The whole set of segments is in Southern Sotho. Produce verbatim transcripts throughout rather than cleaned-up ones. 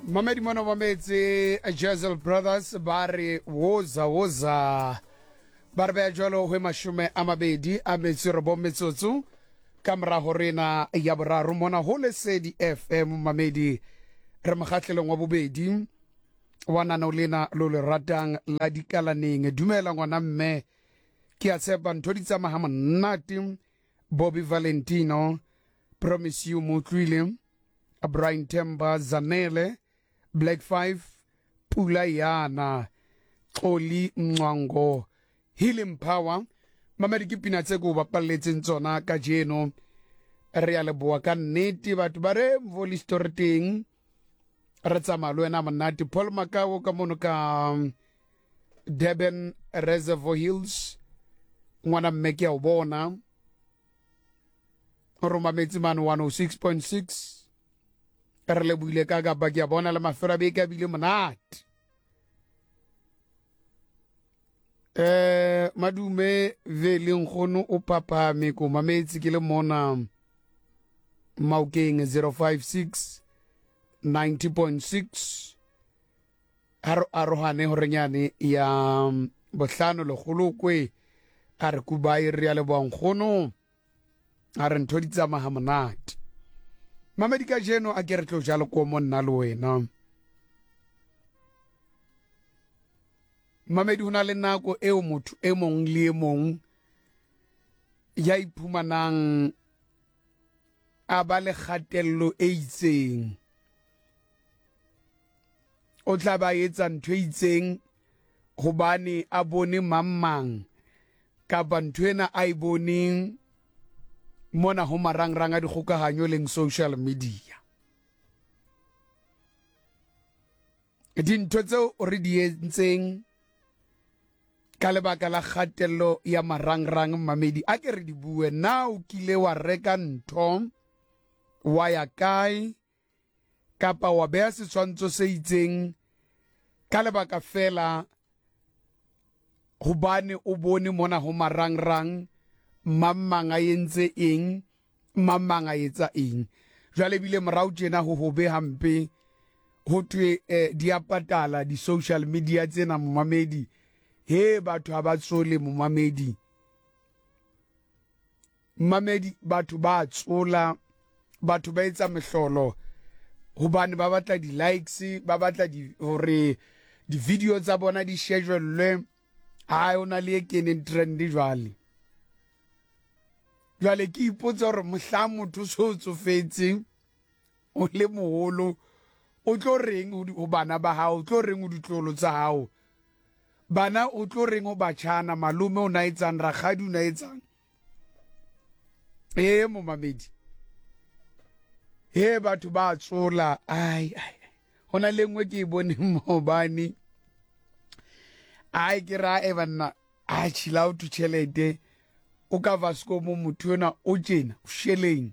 Mamedi mona mametse Jezel Brothers ba re woza woza ba re beya jwalo ho mashome a mabedi a metso e robong metsotso ka morago rena ya boraro mona ho Lesedi F M. Mamedi re mokgahlelong wa bobedi wa nano lena lo le ratang la dikalaneng. Dumela ngwana mme, ke a tshepa ntho di tsamaya ha monate. Bobby Valentino, Promise You Motlwile, Brian Temba, Zanele, Black Five, Pula Yana, Xoli Mncwango, Healing Power. Mamedi ke pina tse ko bapalletseng tsona kajeno. Re a leboha ka nnete batho ba re Mvoli story teng. Re tsamaya le wena monate. Paul Makao ka mono ka Durban Reservoir Hills, ngwana mme ke a o bona. O romametse mane one oh six point six. Re lebohile ka kapa ke a bona le mafelo a beke a bile monate. Eh madume vele nkgono o phaphame ko mametse ke le mona Maokeng zero five six ninety point six. Ha re arohane horenyane ya bohlano lekgolokwe a re kubai re ya leboha nkgono a re ntho di tsamaya ha monate. Mamedi kajeno a ke re tlo jalo ko mo nna le wena. Mamedi ho na le nako eo motho e mong le e mong ya iphumanang a ba le kgatello e itseng. O tla ba etsa ntho e itseng hobane a bone mang mang kapa ntho ena a e boneng mona ho marangrang a dikgokahanyo leng social media. Dintho tseo re di entseng ka lebaka la kgatello ya marangrang mamedi a ke re di bue. Na o kile wa reka ntho wa ya kae kapa wa beha setshwantsho se itseng ka lebaka fela hobane o bone mona ho marangrang mang mang a entse eng, mang mang a etsa eng. Jwale ebile morao tjena ho hobe hampe ho thwe eh, di a patala di-social media tsena momamedi. He batho ha ba tsole momamedi. Mamedi batho ba tsola, batho ba etsa mehlolo hobane ba batla di-likes, ba batla di hore di-video tsa bona di shejwellwe. Ha ona le e keneng trend jwale. Jwale ke ipotsa hore mohla motho so tsofetseng o le moholo o tlo reng ho bana ba hao, o tlo reng ho ditlolo tsa hao, bana o tlo reng ho batjhana, malome o na etsang, rakgadi o na etsang. E momamedi he batho ba tsola. Ai ai hona le nngwe ke e boneng maobane. Ai ke ra e banna a chill out tjhelete o ka Vasco mo motho ena o tjena o sheleng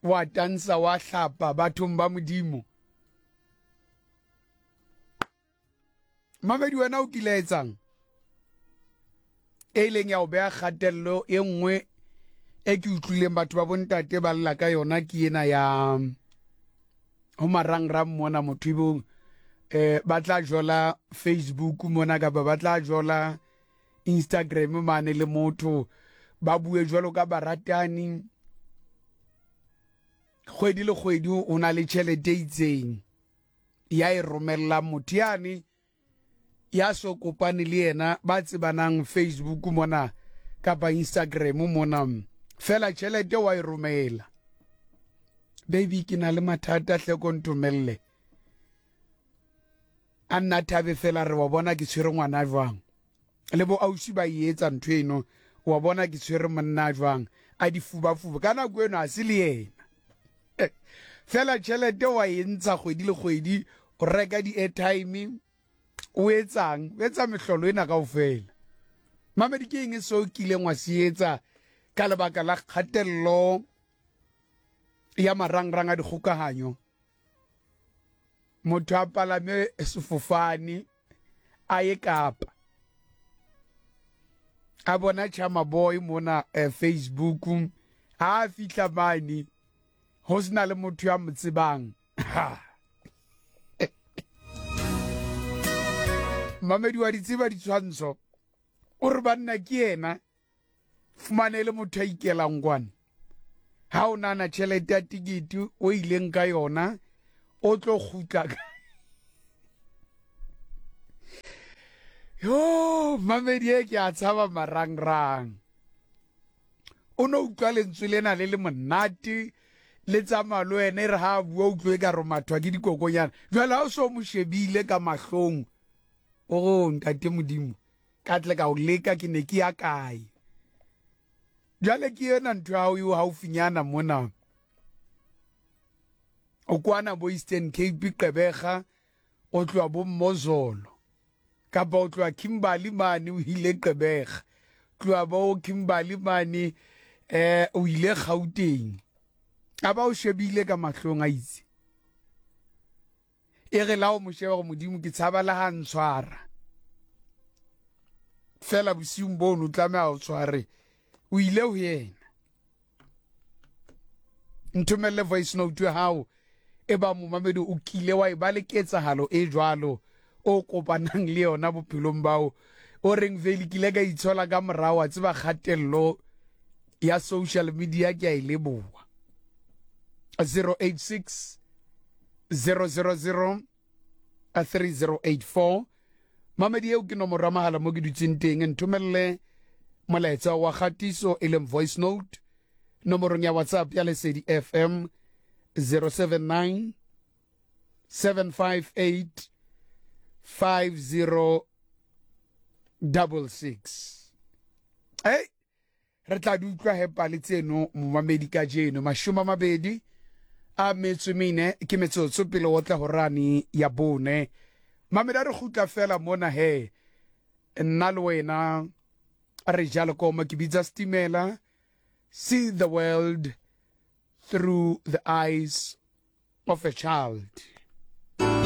wa tansa wa hlapa bathong ba Modimo. Mamedi wena o kile etsang e leng ya o beha kgatello e nngwe e ke utlwileng batho ba bontate ba lla ka yona ke ena ya ho marangrang mona motho ebong eh ba tla jola Facebook mona kapa ba tla jola Instagram mane le motho ba bue jwalo ka baratani. Kgwedi le kgwedi o na le tjhelete e itseng ya e romella motho yane ya so kopane le yena ba tsebanang Facebook mona kapa Instagram mona, fela tjhelete wa e romela. Baby ke na le mathata hle ko ntomelle. A nna thabe fela re wa bona ke tshwere ngwana jwang, le bo ausi ba e etsa ntho eno, wa bona ke tshwere monna jwang, a di fubafuba ka nako eno a se le yena. Fela tjhelete wa e ntsha kgwedi le kgwedi, o reka di-airtime, o etsang, o etsa mehlolo ena kaofela. Mamedi ke eng seo kileng wa se etsa ka lebaka la kgatello ya marangrang a dikgokahanyo? Motho a palame sefofane a ye Kapa, a bona Chama Boy mona eh, Facebook, ha a fihla mane ho sena le motho ya mo tsebang. Ha Mamedi wa di tseba ditshwantsho, o re banna ke yena, fumane le motho a ikelang kwane. Ha o nana tjhelete ya tikete o ileng ka yona, o tlo kgutla ka. Yo, mamedi e ke a tshaba marangrang. O no utlwa lentswe lena le le monate, le tsamaya le wena e re ha a bua utlwe ka re mathwa ke dikokonyana. Jwale ha o so mo shebile ka mahlong, o re ntate Modimo, ka tle ka o leka ke ne ke ya kae. Jwale ke ena ntho ya hao eo haufinyana mona. O kwana bo Eastern Cape Gqeberha, o tloha bo Mmozolo, kapa o tloha Kimberley mane o ile Gqeberha, tloha bo Kimberley mane eh o ile Gauteng. A ba o shebile ka mahlong a itse. E re la o mo sheba gore Modimo ke tshaba le ha ntshwara. Fela bosiung bono o tlameha o tshware. O ile ho yena. Nthomelle voice note ya hao e ba momamedi o kile wa e ba le ketsahalo e jwalo o kopanang le yona bophelong bao o reng vele ke ile ka itshola ka morao, wa tseba kgatello ya social media ke a e leboha. zero eight six zero zero zero three zero eight four. Mamedi eo ke nomoro ya mohala mo ke dutseng teng, nthomelle molaetsa wa kgatiso e leng voice note nomorong ya WhatsApp ya Lesedi F M zero seven nine seven five eight five zero double six. Hey, re tla di utlwa he pale tseno momamedi kajeno mashome a mabedi a metso mene ke metsotso pele o tla horane ya bone. Mamedi a re kgutla fela mona he, nna le wena re jalo koma ke bitsa Stimela, see the world through the eyes of a child.